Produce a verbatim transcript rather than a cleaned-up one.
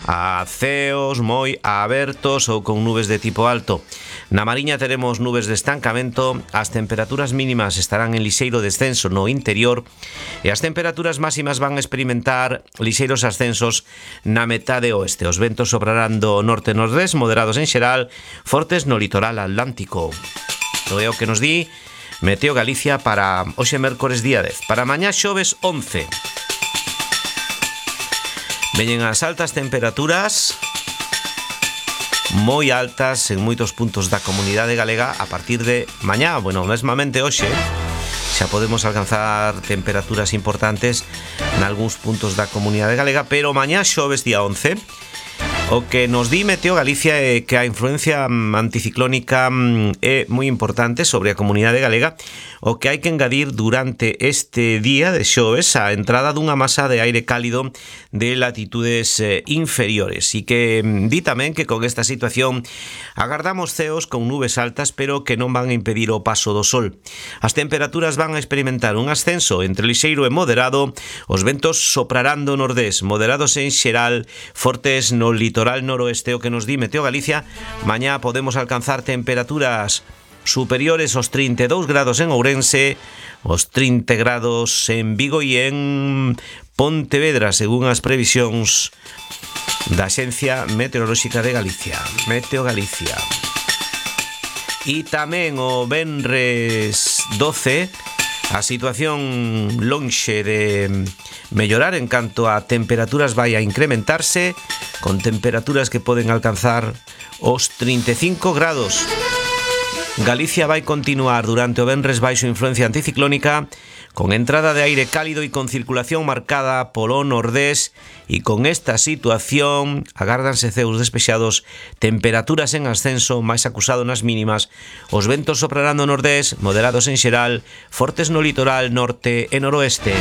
a ceos moi abertos ou con nubes de tipo alto. Na Mariña teremos nubes de estancamento, as temperaturas mínimas estarán en lixeiro descenso no interior e as temperaturas máximas van a experimentar lixeiros ascensos na metade oeste. Os ventos soprarán do norte-nordés, moderados en xeral, fortes no litoral atlántico. Isto é o que nos di Meteo Galicia para hoxe mércores día dez. Para mañá xoves once. Veñen as altas temperaturas moi altas en moitos puntos da comunidade galega a partir de mañá. Bueno, mesmamente hoxe xa podemos alcanzar temperaturas importantes nalgúns puntos da comunidade galega, pero mañá xoves día once. O que nos di Meteo Galicia é que a influencia anticiclónica é moi importante sobre a comunidade galega, o que hai que engadir durante este día de xoves a entrada dunha masa de aire cálido de latitudes inferiores, e que di tamén que con esta situación agardamos ceos con nubes altas, pero que non van a impedir o paso do sol. As temperaturas van a experimentar un ascenso entre lixeiro e moderado, os ventos soprarán do nordés, moderados en xeral, fortes no litoral noroeste. O que nos di Meteo Galicia, mañá podemos alcanzar temperaturas superiores aos trinta e dous grados en Ourense, os trinta grados en Vigo e en Pontevedra, según as previsións da Axencia Meteorolóxica de Galicia, Meteo Galicia. E tamén o venres doce, a situación lonxe de mellorar en canto a temperaturas vai a incrementarse, con temperaturas que poden alcanzar os trinta e cinco grados. Galicia vai continuar durante o venres baixo influencia anticiclónica, con entrada de aire cálido e con circulación marcada polo nordés, e con esta situación agárdanse ceos despexados, temperaturas en ascenso, máis acusado nas mínimas, os ventos soprarán do nordés, moderados en xeral, fortes no litoral norte e noroeste.